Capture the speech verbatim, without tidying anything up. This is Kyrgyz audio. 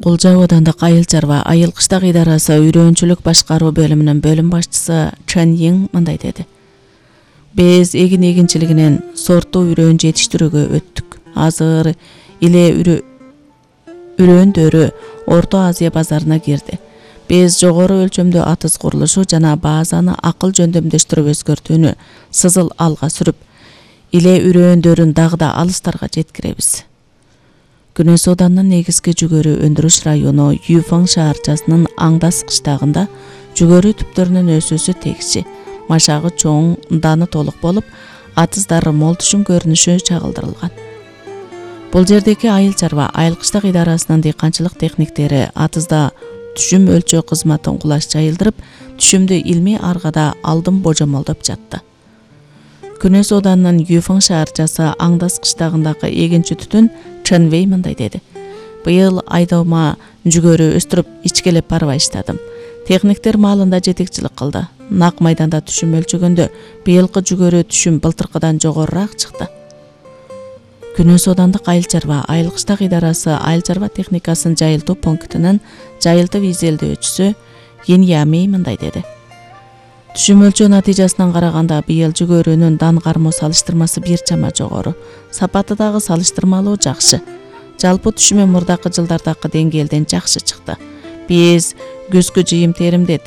Кулжа аудандык айыл чарба айыл кыштак идарасы үйрөнчүлүк башкаруу бөлүмүнүн бөлүм башчысы Чен Йин мындай деди. Биз эгин эгинчилигинен сорттуу үрөөн жетиштирүүгө өттүк. Азыр иле үрөөндөрү Орто Азия базарына кирди. Биз жогору өлчөмдүү атыз курулушу жана базаны акыл жөндөмдөштүрүп өзгөртүүнү сызыл алга сүрүп, иле үрөөндөрүн дагы да алыстарга жеткиребиз. Күнөс Оодунун негизги жүгөрү өндүрүш району Юфаң шаарчасынын Аңдас кыштагында жүгөрү түптөрүнүн өсүүсү тегиши, машагы чоң, даны толук болуп, атыздары мол түшүм көрүнүшү чагылдырылган. Бул жердеги айыл чарба айыл кыштак идарасынын дыйканчылык техниктери атызда түшүм өлчөө кызматын кулаш жайылдырып, түшүмдү илмий аргада алдын божомолдоп жатты. Күнөс Оодунун Юфаң шаарчасы Аңдас кыштагындагы эгинчи түтүн Чен Вэй мындай деди. Быйыл айдома жүгөрү өстүрүп ичкелеп барбай иштадым. Техниктер маалында жетекчилик кылды. Нак майданда түшүм өлчөгөндө быйылкы жүгөрү түшүм былтыркыдан жогорураак чыкты. Күнөс Оодундук айыл чарба айыл кыштак идарасы айыл чарба техникасын жайылтуу пунктунун жайылтып изилдөөчүсү Йин Ямей мындай деди. Түшүм өлчөө натыйжасынан караганда быйыл жүгөрүнүн дан кармоо салыштырмасы бир чама жогору, сапаты дагы салыштырмалуу жакшы. Жалпы түшүмү мурдакы жылдардагы деңгээлден жакшы чыкты. Биз күзгү жыйым теримде